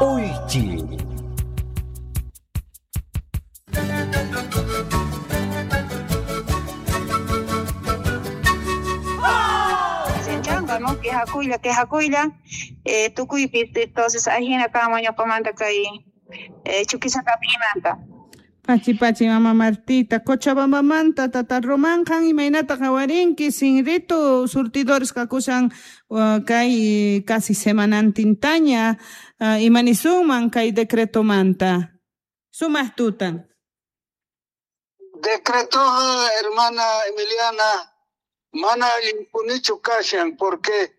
Uychi. ¿No? Quejakuylla, quejakuylla, tukuypi, entonces ajina kanman ñuqamanta kay Chuquisacapiymanta. Pachi pachi mama Martita, Cochabambamanta tata Román qan imaynata qhawarinki sinritu surtidores kakushan kay casi semanantintaña imanisunman kay decretomanta. Sumaq tutan. Decretoqa, hermana Emiliana, mana allinpunichu kashan porque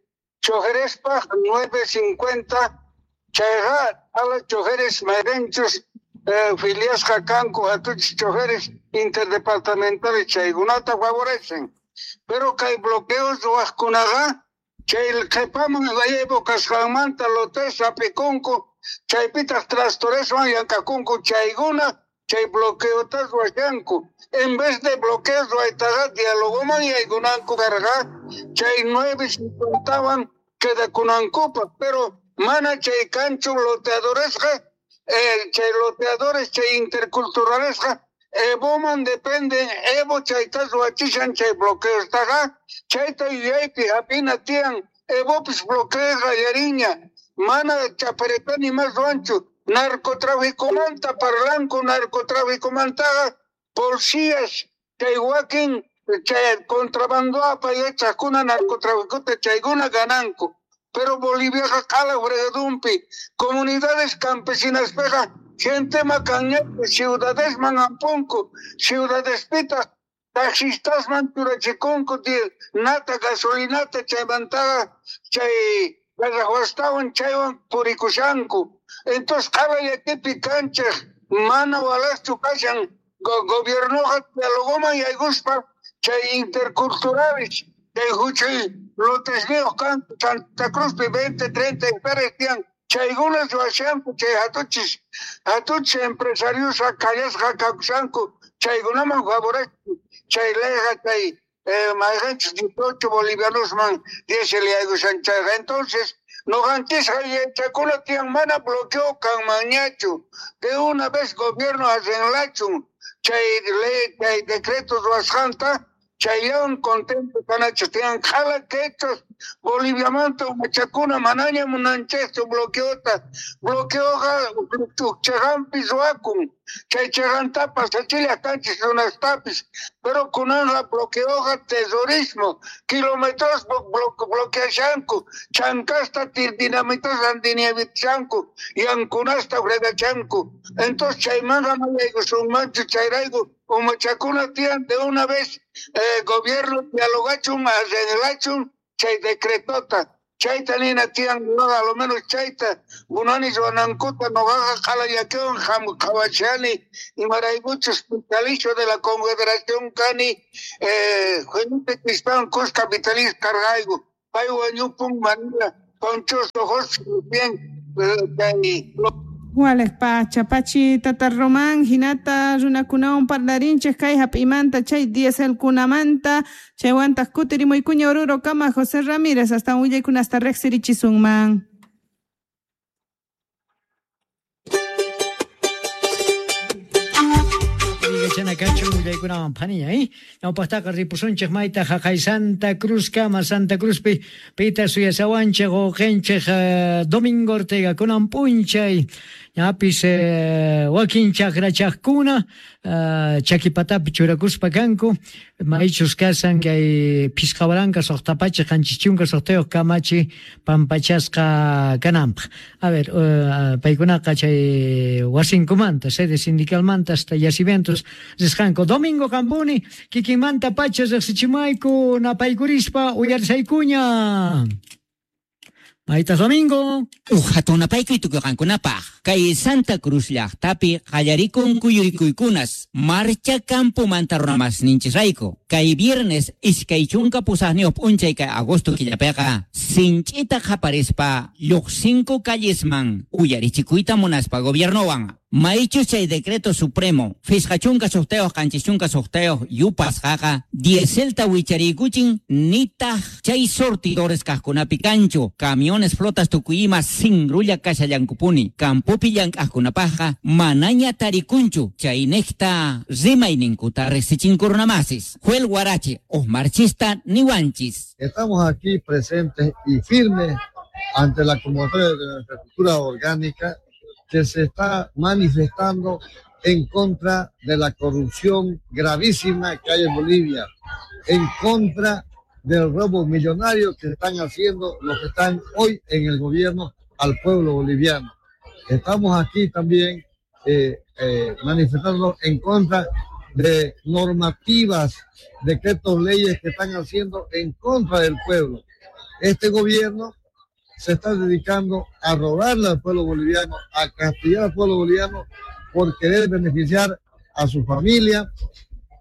choferespaq 9.50 chayqa ala choferes mayqinchus filiasqa kanku hatuchis choferes interdepartamentales chaykunata favorecen, pero kay bloqueos ruwaqkunaqa chay qhipaman Evo kasqanmanta lotes hap'ikunku chaypitaq trastoreswan llank'akunku chaykuna chay bloqueota ruwashanku. En vez de bloqueos ruwaytaqa dialogoman yaykunanku karqa chay 9.50wan quedakunankupaq, pero mana chay kanchu loteadoresqa, chay loteadores chay interculturalesqa Evoman dependen, Evo chayta ruwachishan chay bloqueostaqa chayta yuyaypi hap'ina tiyan, Evopis bloqueo qallariña, mana chaparetani mas ruwanchu. Narcotráficomanta parlanku, narcotráficomantaqa policías chay wakin chay contrabando apayachaqkuna narcotráficota chaykuna gananku. Pero Boliviaqa q'ala fregadumpi comunidades campesinaspiqa gente makanñapi ciudadesman ampunku, ciudadespitaq taxistasman churachikunku nata gasolinata chaymantaqa chay garrahuastawan chaywan purikushanku. Entonces q'ala llakipi kanchik mana walaschu kashan gobiernoqa dialogoman yaykuspa chay interculturales chay huchuy lotesniyuq kanku Santa Cruzpi 20, 30 hectáreas tiyan chaykuna ruwashanku chay hatuchis empresariosqa kallasqa kakushanku chaykunaman favorecen chay leyqa chay mayqanchis 18 bolivianosman diésel yaykushan chayqa. Entonces noqanchisqa yachakuna tiyan mana bloqueo kanmanñachu, de una vez gobierno arreglachun chay ley chay decretos ruwasqanta chayllawan contento kanachis tiyan q'ala quechos Boliviamanta umachakuna manaña munanchikchu bloqueota, bloqueoqa chaqanpi ruwakun chay chaqantapas achilla kanchis runastapis, pero kunanqa bloqueoqa terrorismo, kilómetros bloqueashanku, chankasta dinamitas dinamitashanku, yankunasta fregachanku. Entonces chaymanqa mayaykusunmanchu chayrayku umachakuna tiyan de una vez gobierno dialogachun arreglachun chay decretota chayta nina tiyan noqa a lo menos chayta munani ruwanankuta noqaqa q'ala llakiwan qhawachani imaraykuchus vitalicio de la Confederación kani Felipe Crispán Cus capitalista cargayku pay wañupun manila Ponchoso José bien chay Wales pacha pachi tata Román hinata runakunawan parlarinchik kay hap'imanta chay dieselkunamanta chaywantaq kutirimuykuña Oruro kama José Ramírez hasta willaykunasta riqsirichisunman. Chanakachu willaykunawan phaniña, ñawpaqtaqa ripusunchik mayta haqay Santa Cruz kama Santa Cruzpi pita suyasawanchik uqinchik Domingo Ortega kunan p'unchay ñapis wakin chakrachaqkuna chakipatapi churakuspa kanku maychus kasan kay phisqa waranqa suqta pachak qanchis chunka suqtayuq kamachi pampachasqa kananpaq. A ver, paykunaqa chay wasinkumanta sede sindicalmanta hasta yacimientos risqanku. Domingo Campuni kikinmanta pacha riqsichimayku napaykurispa uyarisaykuña. Maytas Domingo. Hatun napaykuy tukuqankunapaq kay Santa Cruz llaqtapi qallarikun kuyurikuykunas marcha campomanta runamasninchisrayku kay viernes 28 p'unchay kay agosto killapiqa sinch'ita qaparispa lluqsinku callesman uyarichikuyta munaspa gobiernowan Maychus chay decreto supremo 5 6 7 6 yupasqaqa dieselta wichariykuchin nitaq chay sortidores kaqkunapi kanchu camiones flotas tukuyima sinrulla kashallankupuni campopi llank'aqkunapaqqa manaña tarikunchu chaynejta rimayninkuta riqsichinku runamasis. Joel Guarachi, marchista niwanchis. Estamos aquí presentes y firmes ante la convocatoria de nuestra cultura orgánica que se está manifestando en contra de la corrupción gravísima que hay en Bolivia, en contra del robo millonario que están haciendo los que están hoy en el gobierno al pueblo boliviano. Estamos aquí también manifestándonos en contra de normativas, decretos, leyes que están haciendo en contra del pueblo. Este gobierno se está dedicando a robarle al pueblo boliviano, a castigar al pueblo boliviano por querer beneficiar a su familia,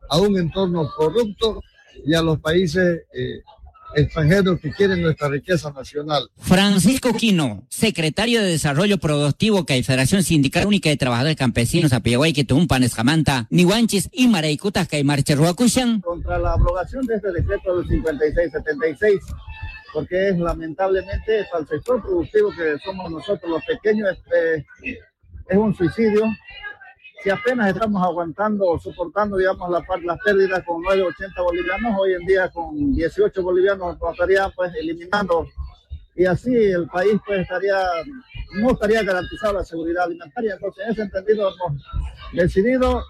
a un entorno corrupto y a los países extranjeros que quieren nuestra riqueza nacional. Francisco Quino, secretario de Desarrollo Productivo que Federación Sindical Única de Trabajadores Campesinos Apiahuay, Tumpa, Nescamanta, Nihuanchis y Maraycutas que Marcherhuacushan. Contra la abrogación de este decreto del 5676, porque es lamentablemente para el sector productivo que somos nosotros los pequeños, es un suicidio. Si apenas estamos aguantando o soportando, digamos, las pérdidas con 9.80 bolivianos, hoy en día con 18 bolivianos nos estarían pues eliminando, y así el país pues no estaría garantizada la seguridad alimentaria. Entonces, en ese entendido hemos decidido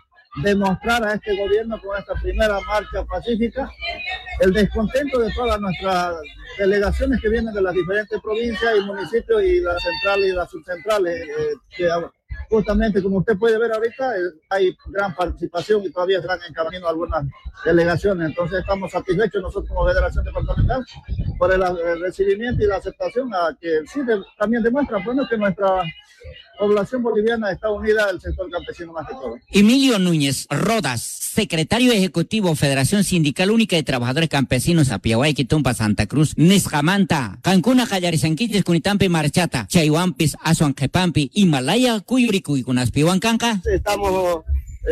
demostrar a este gobierno con esta primera marcha pacífica el descontento de todas nuestras delegaciones que vienen de las diferentes provincias y municipios y las centrales y las subcentrales, que justamente como usted puede ver ahorita, hay gran participación y todavía están en camino algunas delegaciones. Entonces estamos satisfechos nosotros como Federación Departamental por el recibimiento y la aceptación a que sí también demuestra, bueno, que nuestra población boliviana está unida al sector campesino más que todo. Emilio Núñez Rodas, secretario ejecutivo Federación Sindical Única de Trabajadores Campesinos Apiahuay, Tumpa, Santa Cruz, Niscamanta, Cancuna, Callarisanquiches, Cunitampi, Marchata, Chayhuampis, Azuanquepampi, Himalaya, Cuyuricuy, Canca. Estamos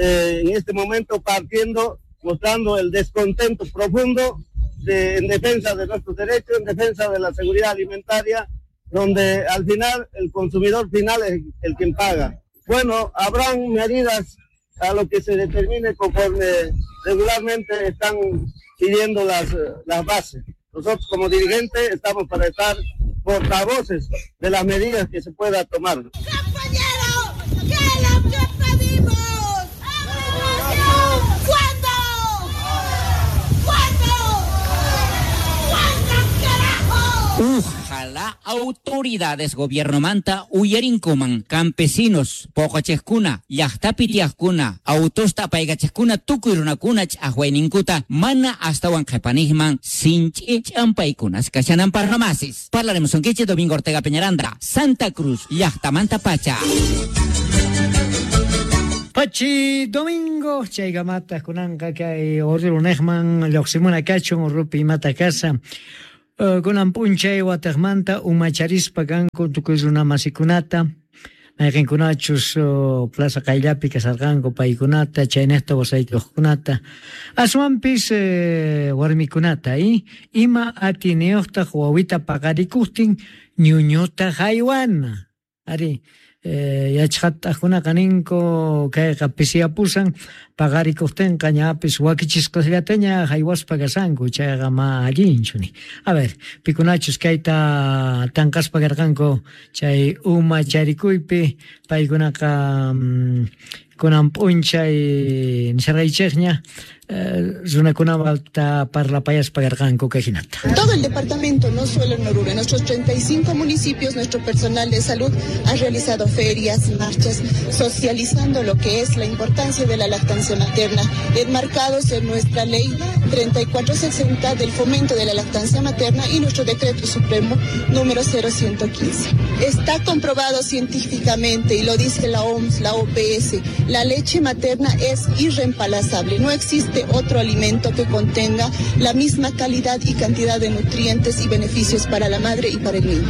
en este momento partiendo, mostrando el descontento profundo en defensa de nuestros derechos, en defensa de la seguridad alimentaria, donde al final el consumidor final es el quien paga. Bueno, habrán medidas a lo que se determine conforme regularmente están pidiendo las bases. Nosotros como dirigentes estamos para estar portavoces de las medidas que se pueda tomar. ¡Compañero! ¿Qué es lo que pedimos? ¿Cuándo? ¿Cuándo? ¿Cuándo, carajo? Ojalá autoridades gobierno manta uyarinkuman campesinos poqachejkuna llaqtapi tiyaqkuna autosta apaykachejkuna tukuy runakuna ch'aqwayninkuta mana astawan qhipanijman sinch'i ch'ampaykunas kashananpaq ramasis. Parlaremos sonquiche Domingo Ortega Peñaranda, Santa Cruz, llaqtamanta pacha. Pachi Domingo, chaykamata kunanqa kay Oruro lluqsimuna kachun Urupi imata kasa. Kunan p'unchay wataqmanta umacharispa kanku tukuy runa masikunata mayqinkunachus plaza qayllapi kasarqanku paykunata chaynejta wasaykuqkunata aswanpis warmikunata ima atiniyuqtaq wawita paqarikuqtin ñuñuta haywana ari yachqataqkunaqa ninku kayqa pisiyapusan paqarikuqtinqa ñapis wakichisqasllataña haywaspa kasanku chayqa ma allinchu ni. A ver, pikunachus kayta tanqaspa karqanku chay uma charikuypi paykunaqa kunan p'unchay nisharqaychikña runakunata parlapayaspa karqanku kay hinata. Todo el departamento, no solo en Oruro, en nuestros 35 municipios, nuestro personal de salud ha realizado ferias, marchas, socializando lo que es la importancia de la lactancia materna, enmarcados en nuestra ley 3460 del fomento de la lactancia materna y nuestro decreto supremo número 0115. Está comprobado científicamente, y lo dice la OMS, la OPS, la leche materna es irreemplazable, no existe otro alimento que contenga la misma calidad y cantidad de nutrientes y beneficios para la madre y para el niño.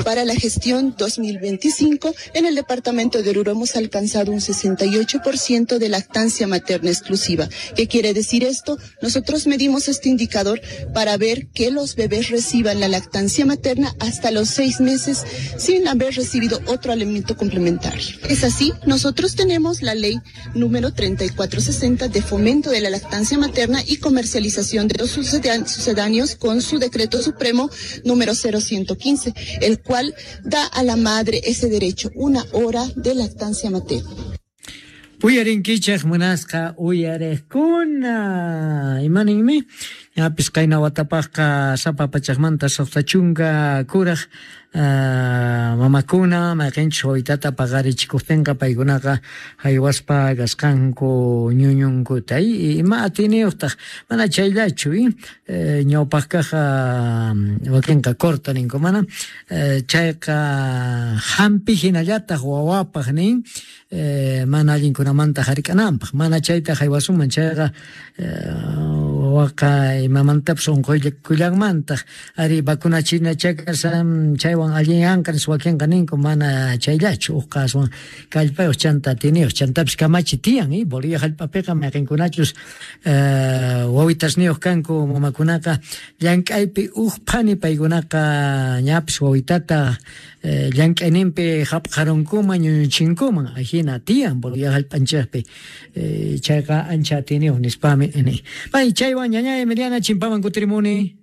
Para la gestión 2025, en el departamento de Oruro hemos alcanzado un 68% de lactancia materna exclusiva. ¿Qué quiere decir esto? Nosotros medimos este indicador para ver que los bebés reciban la lactancia materna hasta los 6 meses sin haber recibido otro alimento complementario. Es así, nosotros tenemos la ley número 3460 de fomento de la lactancia materna y comercialización de los sucedáneos con su decreto supremo número 0115, el cual da a la madre ese derecho, una hora de lactancia materna. Uyarinkichaq munasqa uyariqkuna, imaninmi? Ñapis qayna watapaqqa sapa pachaqmanta 60 kuraq mamakuna mayqinchus wawitata paqarichikuqtinqa paykunaqa haywaspa kasqanku ñuñunkuta. Ima atiniyuqtaq mana chayllachu, ñawpaqkaqqa wakinqa corta ninku mana, chayqa hampi hinallataq wawapaq nin, mana allinkunamanta hark'ananpaq, mana chayta haywasunman chayqa wawaqa imamantapas unquykullanmantaq. Ari vacunachina chakasan chaywan allinyanqa nispa wakinqa ninku, mana chayllachu, uqqa aswan kallpayuq chanta atiniyuq, chantapis kamachi tiyan, Bolivia hallp'apiqa mayqinkunachus wawitasniyuq kanku mamakunaqa llank'aypi uq phani paykunaqa ñapis wawitata llank'ayninpi hapqarunkuman ñuñuchinkuman, ajina tiyan Bolivia hallp'anchikpi, chayqa ancha atiniyuq nispami ni. Pay chaywan ñaña Emiliana chimpaman kutirimuni.